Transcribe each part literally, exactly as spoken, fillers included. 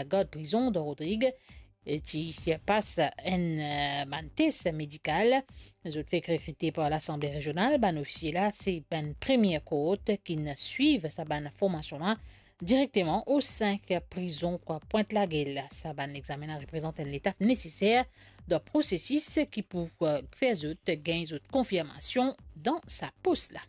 gard prizon dan Rodrig, e ti pas enn, eh, bann tes medikal. Zot fek rekrite par Lasanble Rezional. Bann ofisie la, se bann premie kort ki'nn swiv sa bann formasion la direkteman o sink prizon Pwint Lagel. Sa bann examen la reprezant enn letap neseser dan prosesis ki pou, eh, fer zot gagn zot konfirmasion dan sa pos la.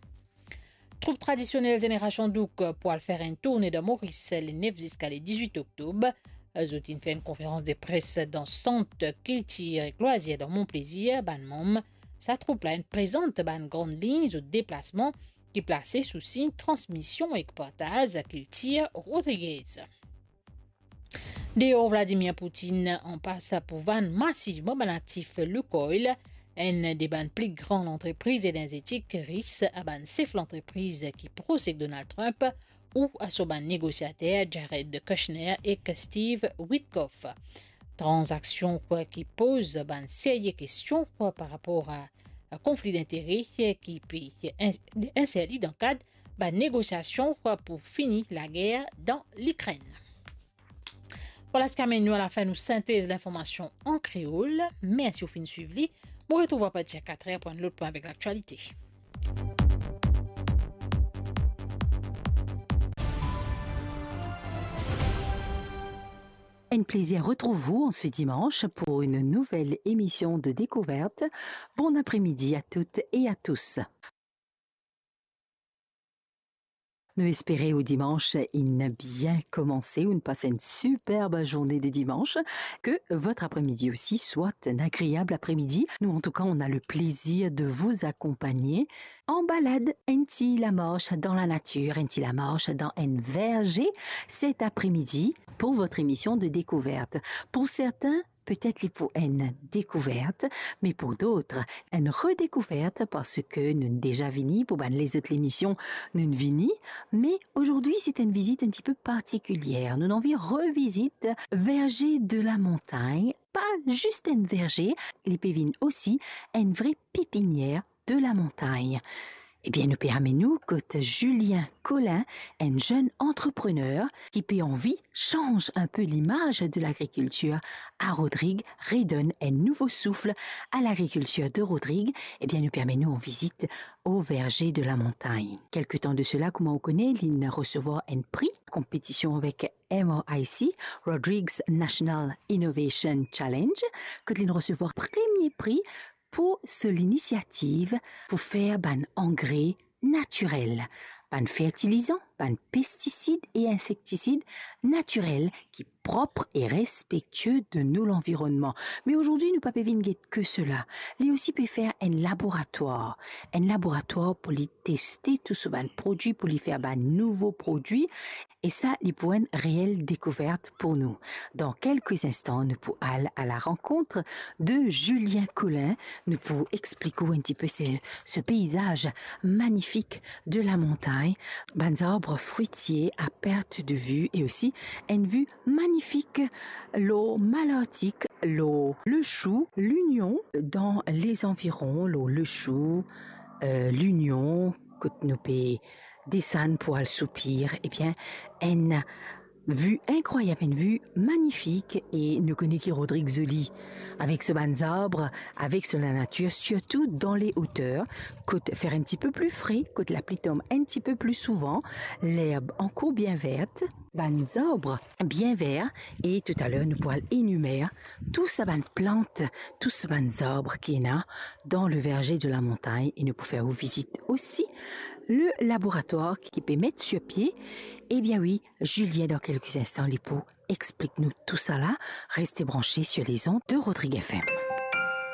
Troup tradisionel Zenerasion Douk pou al fer enn tourne dan Moris le nef ziska le dizwit oktob. Zot inn fer enn konferans de pres dan Sant Kiltir ek Lwazir dan Mont Plaisir. Bann manm sa troup la inn prezant bann gran lign zot deplasman ki plase sou sign transmision ek partaz kiltir rodrigez. Deor Vladimir Putin anpas pou vann masivman bann aktif Lukoil, enn de bann pli gran lantrepriz enerzetik ris, a bann sef lantrepriz ki pros ek Donald Trump ou a so bann negosiater Jared Kushner ek Steve Witkoff. Tranzaksion ki poz bann serye kestion par rapor a konfli dintere ki pe ins-, inserti dan kad bann negosiasion pou fini lager dan Likrenn. Vwala seki amenn nou alafin nou sintez linformasion an kreol. Mersi ou finn swiv li. Mo retrouv apatir katrer pou enn lot pwin avek laktialite. Un plaisir retrouver vous en ce dimanche pour une nouvelle émission de Découverte. Bon après-midi à toutes et à tous. Nou espere ou dimans inn bien komanse, ou'nn pas enn superb zourne de dimanche, que votre après-midi aussi soit un agréable après-midi. Nous, en tout cas, on a le plaisir de vous accompagner en balade, enn ti lamars dan lanatir, enn ti lamars dan enn verze cet après-midi pour votre émission de découverte. Pour certains, petet li pou enn dekouvert, me pou dot, enn redekouvert, parski nou deza vini pou bann lezot lemision, nou vini, me azordi se enn vizit enn tipe partikilier. Nou anvi revizit verze de la montagn, pa zis enn verze, li pe vinn osi enn vre pepinier de la montagn. Ebien, nou pe amenn ou kot Julien Collin, enn zenn antreprener ki pe anvi sanz inpe limaz de lagrikiltir a Rodrig, redonn enn nouvo souf a lagrikiltir de Rodrig. Ebien, nou pe amenn ou an vizit o verze de la montagn. Kelke tan de sela, kouma ou kone, linn resevwar enn pri, konpetision avek M R I C, Rodrig's National Innovation Challenge, kot linn resevwar premie pri pou so linisiativ pou fer bann angre natirel, bann fertilizan, bann pestisid e insektisid natirel ki prop e respektie de nou lanvironnman. Me azordi, nou pa pe vinn get ke sela. Li osi pe fer enn laboratwar, enn laboratwar pou li teste tou so bann prodwi, pou li fer bann nouvo prodwi. E sa, li pou enn reel dekouvert pou nou. Dan kelke instan, nou pou al a la rankont de Julien Collin. Nou pou explik ou enn tipe se, se peizaz manifik de la montagn, bann zarb fritie a perte de vue e osi enn vi manifik lor Malartik, lor Le Chou, Lignon, dan lezanviron, lor Le Chou, eh, Lignon, kot nou pe desann pou al Soupir, ebien, enn vi inkrwayab, enn vi manifik, e nou kone ki Rodrig zoli, avek so bann zarb, avek so lanatir, sirtou dan le oter, kot fer enn tipe pli fre, kot lapli tom enn tipe pli souvan, lerb ankor bien vert, bann zarb bien ver, e toutaler nou pou al enimer tou sa bann plant, tou sa bann zarb ki ena dan le verze de la montagn, e nou pou fer ou vizit osi le laboratwar ki pe met sir pie. Ebien wi, Julien, dan kelke instan, li pou explik nou tou sala. Reste branche sur les ondes de Rodrig F M.